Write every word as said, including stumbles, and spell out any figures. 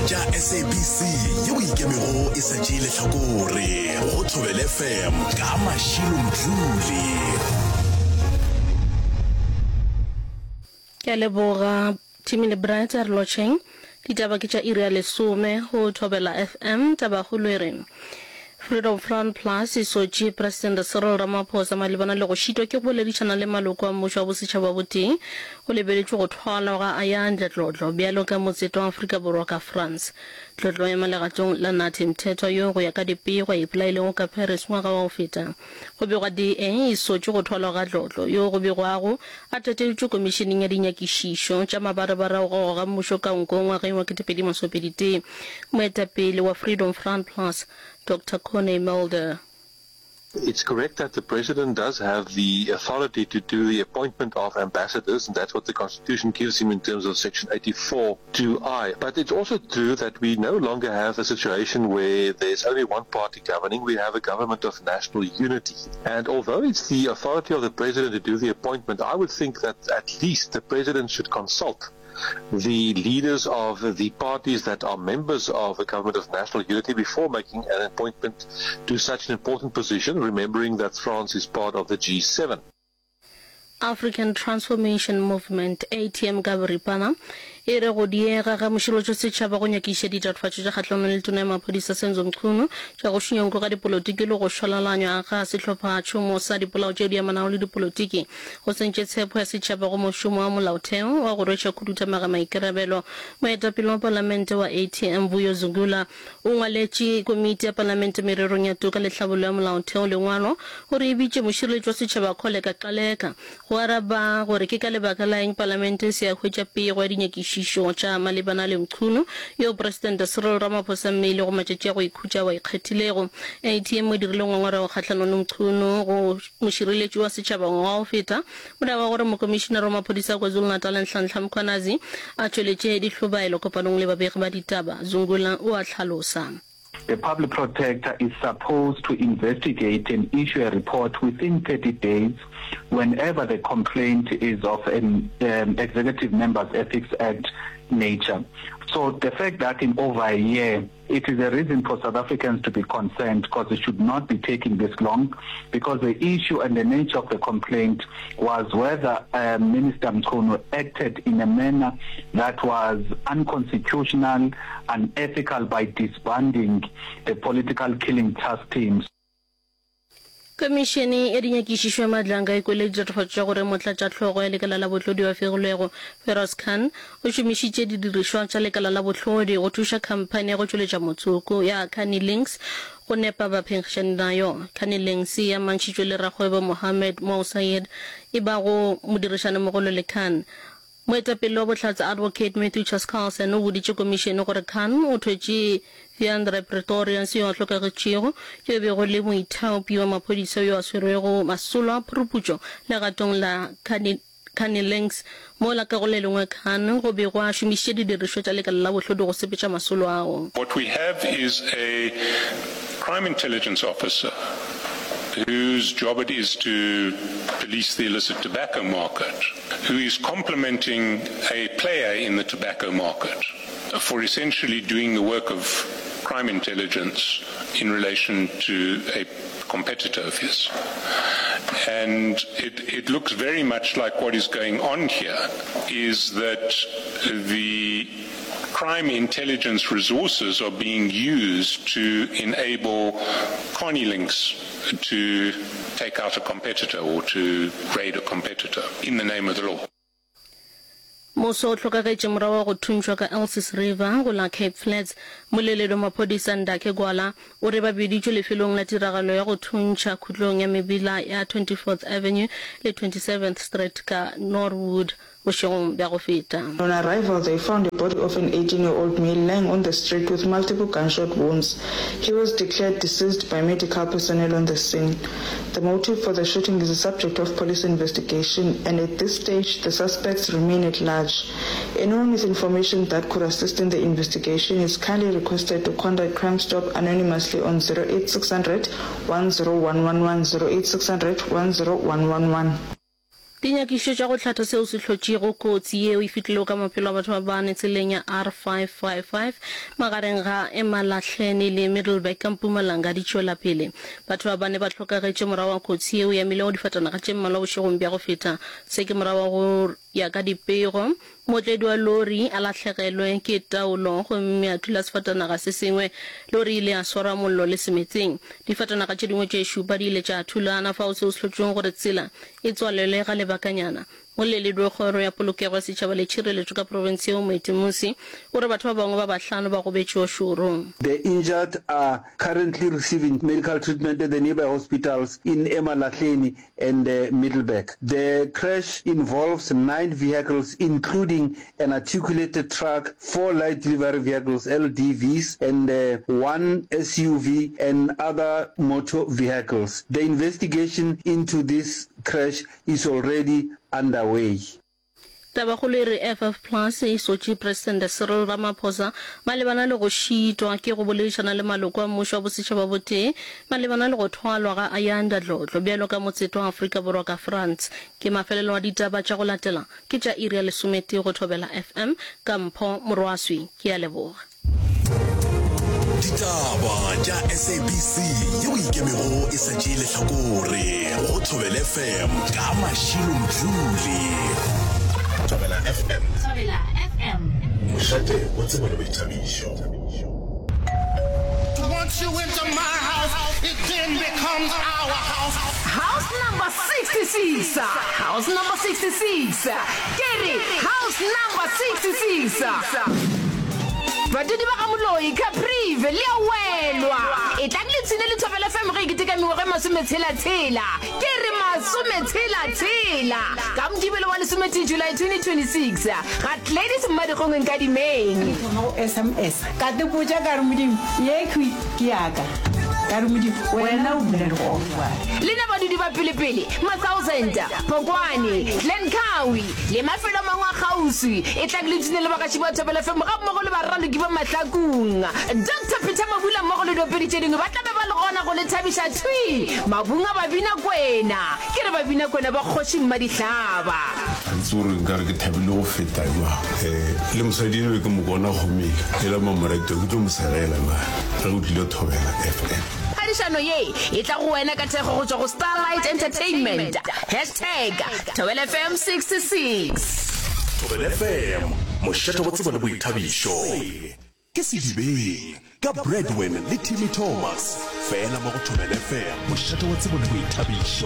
tša S A B C yeo ikemego e sa tšee lehlakore go Thobela F M ka Mašilo Mdluli. Ke a leboga Timmy le Bright. A re lotšheng. Ditaba ke tša iri ya lesome go Thobela F M. Tabakgolo e re Freedom Front Plus e sotše Presidente Cyril Ramaphosa malebana le go šitwa ke go boledišana le maloko a mmušo wa bosetšhaba botee go lebeletšwe go thwalwa ga Ayandla Dlodlo bjalo ka motseto wa Afrika Borwa ka France. Dlodlo ema legatong la Nathi Mthethwa yo go ya ka dipego a ipolailego ka Paris ngwaga wa go feta. Go begwa D A e sotše go thwalwa ga Dlodlo yo go begwago a tateditšwe komišeneng ya dinyakišišo tša mabarebare a go goga mmušo ka nko ngwageng wa ketepedi masomepedi tee. Moetapele wa Freedom Front Plus Doctor Corné Mulder. It's correct that the president does have the authority to do the appointment of ambassadors, and that's what the Constitution gives him in terms of Section eighty-four two I. But it's also true that we no longer have a situation where there's only one party governing. We have a government of national unity. And although it's the authority of the president to do the appointment, I would think that at least the president should consult the leaders of the parties that are members of the government of national unity before making an appointment to such an important position, remembering that France is part of the G seven. African Transformation Movement, A T M ka boripana, e re go diega ga mošireletši setšhaba go nyakišiša ditatofatšo tša kgahlanong le tona ya maphodisa Senzo Mchunu tša go šunya nko ga dipolotiki le go šwalalanywa ga sehlophatšhomo sa dipolao tšeo di amanago le dipolotiki go sentše tshepo ya setšhaba go mošomo wa molaotheo wa go rweša khuduthamaga maikarabelo. Moetapele wa palamente wa A T M Vuyo Zungula o ngwaletše komiti ya palamente mererong ya toka le tlhabollo ya molaotheo lengwalo gore e bitše mošireletši wa setšhaba Kholeka Gcaleka go araba gore ke ka lebaka la eng palamente e se ya hwetša pego ya dinyakišišo tša malebana le Mchunu yo Presidente Cyril Ramaphosa mmeile go matšatši a go ikhutša wa ikgethilego. A T M o dirile ngongorego kgahlanong le Mchunu go mošireletši wa setšhaba ngwaga wa go feta morago ga gore mokomišenare wa maphodisa a KwaZulu-Natal Nhlanhla Mkhwanazi a tšweletše dihlobaelo kopanong le babegi ba ditaba. Zungula o a hlalosa. The public protector is supposed to investigate and issue a report within thirty days whenever the complaint is of an um, Executive Members Ethics Act nature. So the fact that in over a year, it is a reason for South Africans to be concerned, because it should not be taking this long, because the issue and the nature of the complaint was whether um, Minister Mchunu acted in a manner that was unconstitutional, unethical by disbanding the political killing task teams. Komišene ya dinyakišišo ya Madlanga e kwele ditatofatšo tša gore motlatšahlogo ya lekala la bohlodi wa fegilwego Feroz Khan o šomišitše didirišwa tša lekala la bohlodi go thuša khamphani ya go tšweletša motsoko ya Carnilinx go nepa baphenkgišani nayo. Carnilinx e amantšhitšwe le rakgwebo Mohammed Mo Sayed e bago modirišanimogolo le Khan. Moetapele wa bohlatse Advocate Matthew Chaskalson o boditše komišene gore Khan o thwetše Wiandre Pretorius yo a hlokagetšego, yo e bego le moithaopi wa maphodisa yo a swerwego masolo a phuruputšo legatong la Carnilinx, mola ka go le lengwe Khan go be go a šomišitše didirišwa tša lekala la bohlodi go sepetša masolo ao. What we have is a crime intelligence officer whose job it is to police the illicit tobacco market, who is complimenting a player in the tobacco market for essentially doing the work of crime intelligence in relation to a competitor of his. And it, it looks very much like what is going on here is that the crime intelligence resources are being used to enable Carnilinx to take out a competitor or to raid a competitor in the name of the law. Moso o hlokagetše morago ga go thuntšhwa ka Elsies River go la Cape Flats. Mmoleledi wa maphodisa Ndakhe Gwala o re ba biditšwe lefelong la tiragalo ya go thuntšha khutlong ya mebila ya twenty-fourth Avenue le twenty-seventh Street ka Norwood bošegong bja go feta. On arrival, they found a body of an eighteen-year-old male lying on the street with multiple gunshot wounds. He was declared deceased by medical personnel on the scene. The motive for the shooting is the subject of police investigation, and at this stage, the suspects remain at large. Anyone with information that could assist in the investigation is kindly requested to contact Crime Stop anonymously on zero eight six hundred, one zero one one one, zero eight six hundred, one zero one one one. Dinyakišišo tša go hlatha seo se hlotšego kotsi yeo e fetilego ka maphelo a batho ba bane tseleng ya R five five five magareng ga Emalahleni le Middelburg ka Mpumalanga di tšwela pele. Batho ba bane ba hlokagetše morago ga kotsi yeo e amilego difatanaga tše mmalwa bošegong bja go feta. Se ke morago ga go ya ka dipego, mootledi wa lori a lahlegelwe ke taolo gomme a thula sefatanaga se sengwe. Lori e ile ya swara mollo le semetseng. Difatanaga tše dingwe tše šupa di ile tša thulana fao seo se hlotšego gore tsela e tswalelwe ga lebakanyana. Moleledi wa Kgoro ya Polokego ya Setšhaba le Tšhireletšo ka profense yeo, Moeti Mmusi, o re batho ba bangwe ba bahlano ba gobetše o šoro. The injured are currently receiving medical treatment at the nearby hospitals in Emalahleni and Middelburg. The crash involves nine vehicles including an articulated truck, four light delivery vehicles, L D Vs, and one S U V and other motor vehicles. The investigation into this crash is already underway. Tabakgolo e re F F Plus e sotše Presidente Cyril Ramaphosa malebana le go šitwa ke go boledišana le maloko a mmušo wa bosetšhaba botee malebana le go thwalwa ga Ayanda Dlodlo bjalo ka motseto wa Afrika Borwa ka France. Ke mafelelo a ditaba tša go latela ke tša iri ya lesometee go Thobela F M ka Mpho Morwaswi. Ke a leboga. Ditaba tša S A B C yeo e ikemego e sa tšee lehlakore go Thobela F M ka Mashilo Mdluli. Thobela F M. Thobela F M. Mošate wa tsebo le boithabišo. Once you enter my house, it then becomes our house. House number sixty-six, house number sixty-six, ke re house number sixty-six. Badudi ba ga Moloi, Caprivi, le a welwa. Etlang le ipshine le Thobela F M ge e keteka mengwaga e masometshela-tshela. Ke re masometshela-tshela. Ka Mokibelo wa lesometee July twenty twenty-six, ga Gladys Mmadikgong Nkadimeng. Ka thoma go S M S, ka tepotša ka re, Modimo, yekhwi ke ya ka. Ka re, Modimo, wena o bula legogo bjale. Lena badudi ba pelepele, Mathousand, Phokwane, Glencoe le mafelo a mangwe a kgauswi, etlang le ipshine le bagaši ba Thobela F M gammogo le baraloki ba Mahlakung. Doctor Peter Mabula mmogo le diopedi tše dingwe ba tla be ba le gona go le thabiša thwi mabung a Babinakwena. Ke re Babinakwena ba kgoši Mmadihlaba. Ga ke tsebe gore nkare ke thabile go feta jwang. Um le mosadi eno be ke mo bona kgomeng e le mamoreto, ke tlo mo segela bjale ge o tlile Thobela F M. Phadišano ye e tla go wena ka thekgo go tšwa go Starlight Entertainment. Hashtag Thobela F M sixty-six. Thobela F M, mošate wa tsebo le boithabišo. Ke Sedibeng ka Bradwin le Timmy Thomas, fela mo go Thobela F M, mošate wa tsebo le boithabišo.